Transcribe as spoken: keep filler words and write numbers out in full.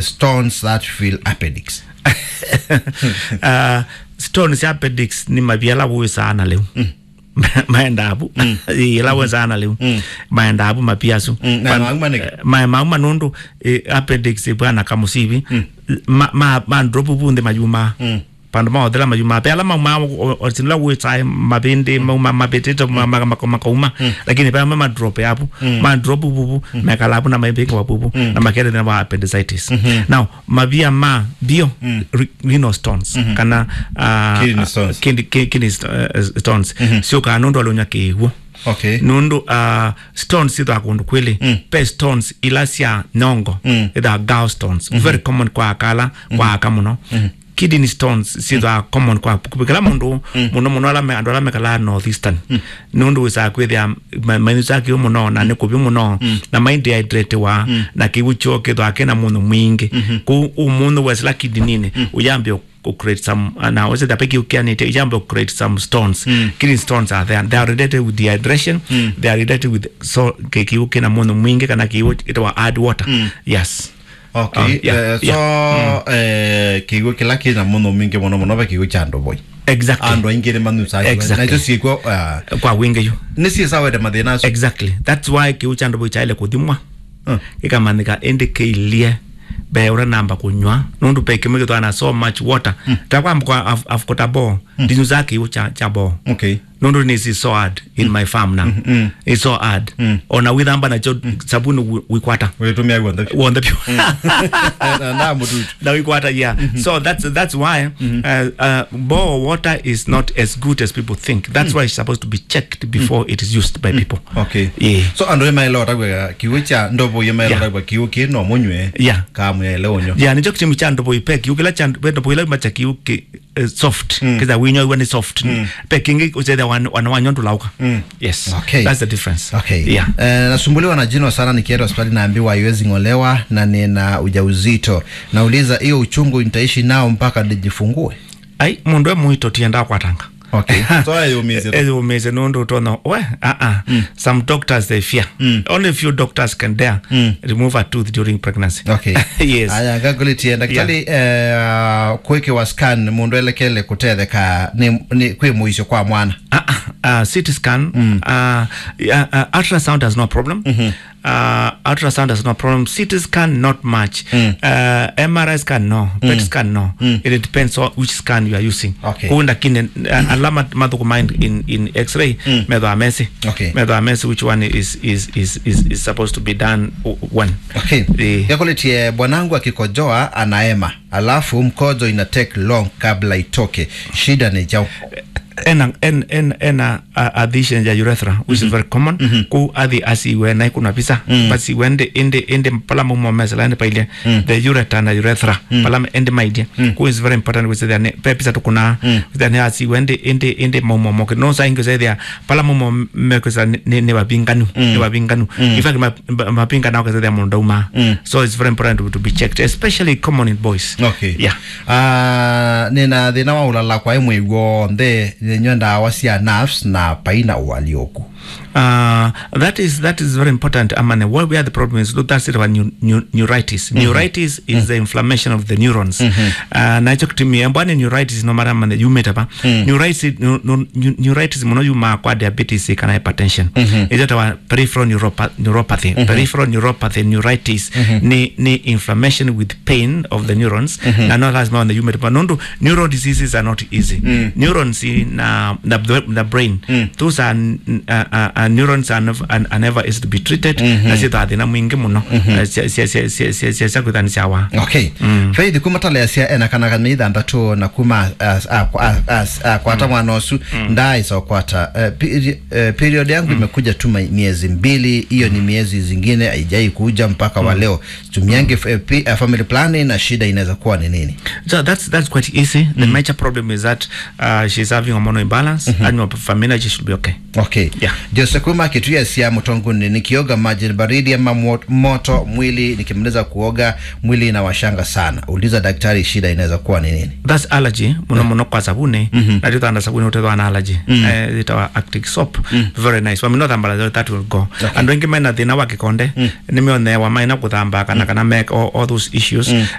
stones that fill appendix? Uh, stones ya appendix nĩ mavia ala wĩsaa na lĩu. Mm. Maendaa vu. Mm. Ĩĩ, ĩla wĩsaa na lĩu. Mm. Maendaa vu mavia asu. Mm. Na mauma nĩkĩ? Eh, ma-, mauma nũndũ, eh, appendix ĩvwana kamũsivi. Mm. Ma, ma, ma drop vu nthĩ mayumaa. Mm. Vandũ ma ũthela mayumaa. Ve ala maumaa o-, o-, o-, sila wĩsaa mavĩndĩ, mauma mavĩtĩte, ma-, ma-, ma-, makauma. Mm. Lakini ve ma, ma drop ya vu. Mm. Ma drop vu vu, mm, mekala vu na maivĩngĩwa vu vu. Mm. Na makete thĩna wa appendicitis. Mm-hmm. Now, mavia ma mbio, mm, re-, renal stones, mhm, kana, ah, kidney stones. Kidney, ki-, kidney st-, eh, stones. Mhm. Syũkaa nũndũ wa ũlũny'a kĩw'ũ. Okay. Nũndũ, ah, stones syĩthĩwa kũndũ kwĩlĩ. Mm. Ve stones ila sya nyongo, mm, ĩthĩwa gallstones. Mhm. Very common kwa aka ala, kwa, mhm, aka mũno. Mhm. Kidney stones syĩthĩwa, mm, common kwa kĩla mũndũ, mm, mũno mũno ala me-, andũ ala mekalaa northeastern. Mm. Nũndũ wĩsaa kwĩthĩa ma-, mainyw'ĩsaa kĩw'ũ mũno, na nĩ kũvyũ mũno, mm, na maindehydratewa, mm, na kĩw'ũ kyoo kĩthĩwa kĩna mũnyũ mwingĩ. Mhm. Kũu ũmũnyũ wesĩla kidney-inĩ, mm, ũyambĩa kũ create some, uh, na wesĩla pe kĩw'ũ kĩanĩte, ũyambĩa kũ create some stones. Mm. Kidney stones are there. They are related with dehydration. Mm. They are related with, so, kĩ-, kĩw'ũ kĩna mũnyũ mwingĩ kana kĩw'ũ kĩtawa add water. Mm. Yes. Okay, oh, yeah, eh, so, yeah, mm, eh, kĩw'ũ kĩla kĩna mũnyũ mwingĩ mũno mũno ve kĩw'ũ kya ndovoi. Exactly. Andũ aingĩ nĩmanyusaa kĩw'ũ. Exactly. Na icio syĩkw'o, ah, kwa wingĩ yu. Nĩsyĩsawete mathĩna asu. Exactly. That's why kĩw'ũ kya ndovoi kyaĩle kũthimwa. Mm. Kĩkamanyĩka ĩndĩ kĩilyĩ mbee ũtanamba kũnyw'a. Nũndũ ve kĩmwe kĩthĩawa na so much water. Mm. Ta kwa mfano, I've, I've got a bore. Mm. Ndinyusaa kĩw'ũ kya, kya bore. Okay. Nũndũ nĩ, it's so hard in, mm, my farm now. Mm, mm. It's so hard. Mm. Ona wĩthamba nakyo, mm, savunĩ wĩ-, wĩkwata. Wĩtũmĩa w'onthe vyũ. W'onthe vyũ. Mm. Na, na mũtutu. Na wĩkwata, yeah. Mm-hmm. So that's, that's why, mm-hmm, uh, uh, bore water is not as good as people think. That's, mm, why it's supposed to be checked before, mm, it is used by, mm, people. Okay. Yeah. So andũ ĩmaĩla ũtavw'a kĩw'ũ kya ndovoi, ĩmaĩla, yeah, ũtavw'a kĩw'ũ kĩ no mũnyw'e. Yeah. Kaa mũyaĩle ũnyw'a. Yeah, nĩkyo kĩtumi kya ndovoi, ve kĩw'ũ kĩla kya, ve ndovoi ĩla ĩma kya kĩw'ũ kĩ, eh, soft. Mm. Kĩtha wĩnyw'a nĩ soft. Mm. Ve kĩngĩ ũsethĩa wana, wana wanyu ndũlaũka. Mm. Yes. Okay. That's the difference. Okay. Yeah. Eh, nasumbuliwa na jino sana, nikienda hospitali naambiwa haiwezi ng'olewa na nina ujauzito. Nauliza, hiyo uchungu nitaishi nao mpaka nijifungue? Ai, mũndũ e mũito tienda kwatanga. Okay. So, ayũmĩĩsye tu. Ayũmĩĩsye nũndũ ũtonya, we, ah, ah. Mm. Some doctors, they fear. Mm. Only few doctors can dare, mm, remove a tooth during pregnancy. Okay. Yes. Aya, ngakũlĩtye, ndakĩtalĩ, yeah, eh, kwĩkĩwa scan, mũndũ elekele kũtetheka nĩ, nĩ kwĩ mũisyo kwa mwana? Ah, ah, ah, C T scan, mm, ah, yeah, ah, ultrasound has no problem. Mm-hmm. Uh, ultrasound has no problem. C T scan, not much. Mm. Uh, M R I scan, no. Mm. PET scan, no. Mm. It depends on which scan you are using. Okay. Kũu ndakine, uh, ala mat-, mathũkũmaa in, in, in X-ray, mm, methĩawa mesĩ. Okay. Methĩawa mesĩ which one is, is, is, is, is supposed to be done w-, when. Okay. Eh. Yakũlĩtye, bwanangu akikojoa anaema, alafu mkojo ina take long kabla itoke. Shida ni jau? Ena, en-, en-, ena a, a adhesion ya urethra, which is, mhm, very common. Mhm. Kũu athi asiwe na ikuna visa. Mm. But asiwe ĩndĩ, ĩndĩ, ĩndĩ pala maumo mesela ĩndĩ pailye. Mm. The ureter na urethra. Mm. Pala ĩndĩ mailye. Mm. Kũu is very important, which is the, ve visa tũkũnaa. Mm. Then asiwe ĩndĩ, ĩndĩ, ĩndĩ maumo moke. No saa ingĩ ũsethĩa pala maumo mekwĩsa nĩ, nĩ, nĩ vavinganu. Mm. Nĩ vavinganu. Mm. In fact, ma-, ma-, mavingana ũkasethĩa mũndũ ndauma. Mm. So it's very important to, to be checked, especially common in boys. Okay. Yeah. Ah, nĩna thĩna wa ũlala kwa mwei w'onthe, nĩnywa ndawa sya nerves na paina ũalyũku. Uh, that is, that is very important, amane. What, where the problem is, that's it, about neu-, neu-, neuritis. Mm-hmm. Neuritis is, mm, the inflammation of the neurons. Mm-hmm. Uh, na ĩkyo kĩtumi, mbwa nĩ neuritis, no matter, amane, yumĩte va. Mm. Neuritis, neu-, neu-, neu-, neuritis mũno yumaa kwa diabetes kana hypertension. Mm-hmm. Ĩyo ĩtawa peripheral neuropa-, neuropathy. Mm-hmm. Peripheral neuropathy, neuritis, mm-hmm, nĩ, nĩ inflammation with pain of the neurons, mhm, na no lazima one yumĩte. Nũndũ neural diseases are not easy. Mm. Neurons na, na the, the brain, mm, those are, uh, uh, uh, neurons are nev-, are, are never easy to be treated, mhm, na syĩthĩawa thĩna mwingĩ mũno, mhm, uh, sya, sya kwĩthĩwa nĩsyawa. Okay. Mm. Faith, kuma tala ya sya ena kana ka mĩei thanthatũ na kuma, uh, uh, uh, uh, kwata, mm, mwana ũsu, mm, ndaaĩsa kwata, uh, pe-, uh, period yangu, mm, imekuja tu ma-, miezi mbili, hiyo ni, mm, miezi zingine haijai kuja mpaka wa, mm, leo. Tumiange, mm, f-, eh, pi-, eh, family planning na shida inaweza kuwa ni nini? So that's, that's quite easy. The, mm, major problem is that, uh, she's having hormonal imbalance, mhm, and your family, she should be okay. Okay. Yeah. Jose kuma Kitui asya, mtonguni nikioga maji baridi ama mo- moto, mwili nikimaliza kuoga, mwili inawashanga sana. Uliza daktari, shida inaweza kuwa ni nini? That's allergy, mũno mũno kwa sabuni. Na tũthanda sabuni ũtethwa na allergy. Eh, itawa Arctic soap. Very nice. Wamina ũthambala, that will go. Andũ aingĩ mena thĩna wa kĩkonde, nĩmeonewa maina kũthamba kana kana make all, all those issues.